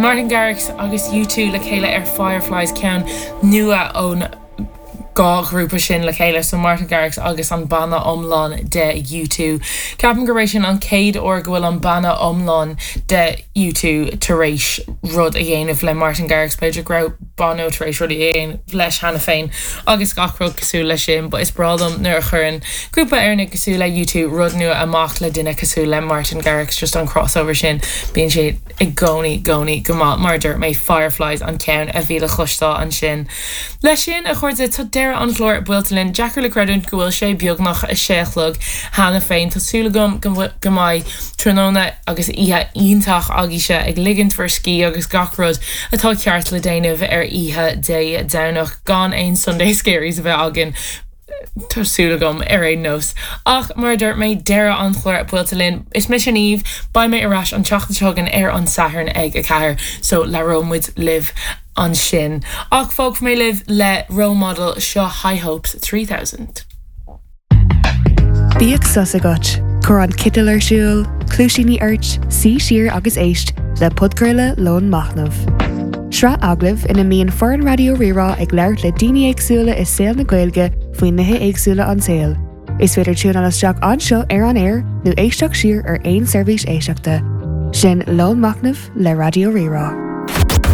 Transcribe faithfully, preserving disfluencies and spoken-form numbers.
Martin Garrix agus U two le chéile ar Fireflies ceann nua ón dhá ghrúpa sin le chéile so Martin Garrix agus an banna iomlán de U two. Ceapaim gur sin an chéad uair go bhfuil an banna iomlán de U two tar éis rud a dhéanamh le Martin Garrix b'fhéidir go raibh Bono tar éis rud a dhéanamh leis cheana féin agus gach rud cosúil leis sin, but is breá liom nuair a chuireann grúpa Éireannach cosúil le U two rud nua amach le duine cosúil le Martin Garrix just an crossover sin bíonn sé i gcónaí gcónaí go maith mar dúirt mé Fireflies an ceann a bhí le cloisteáil ansin. Leis sin a chairde tá deireadh an chláir buailte linn deacair le creidiúint go bhfuil sé beagnach a sé a chlog cheana féin Tá súil agam go mbeidh tráthnóna agus oíche iontach agaibhse ag ligint bhur scíth agus gach rud atá ceart le déanamh ar oíche Dé Domhnach gan aon Sunday scaries a bheith againn. Tá súil agam ar aon nós. Ach mar dúirt mé deireadh an chláir buailte linn is mise Niamh beidh mé ar ais an tseachtain seo chugainn ar an Satharn ag a ceathair, so labhróidh muid libh ansin. Ach fágfaidh mé libh le Role Model seo High Hopes trí thousand. Bíodh sos agat, Cuir an citeal ar siúl, cluaisíní ort, suigh siar agus éist le podchraoladh Lón Machnaimh. Sraith agallamh ina mbíonn foireann Raidió Rí-Rá ag labhairt le daoine éagsúla i saol na Gaeilge faoi nithe éagsúla an tsaoil. Is féidir tiúnáil isteach anseo ar an aer nó éisteacht siar ar aon seirbhís éisteachta. Sin Lón Machnaimh le Raidió Rí-Rá.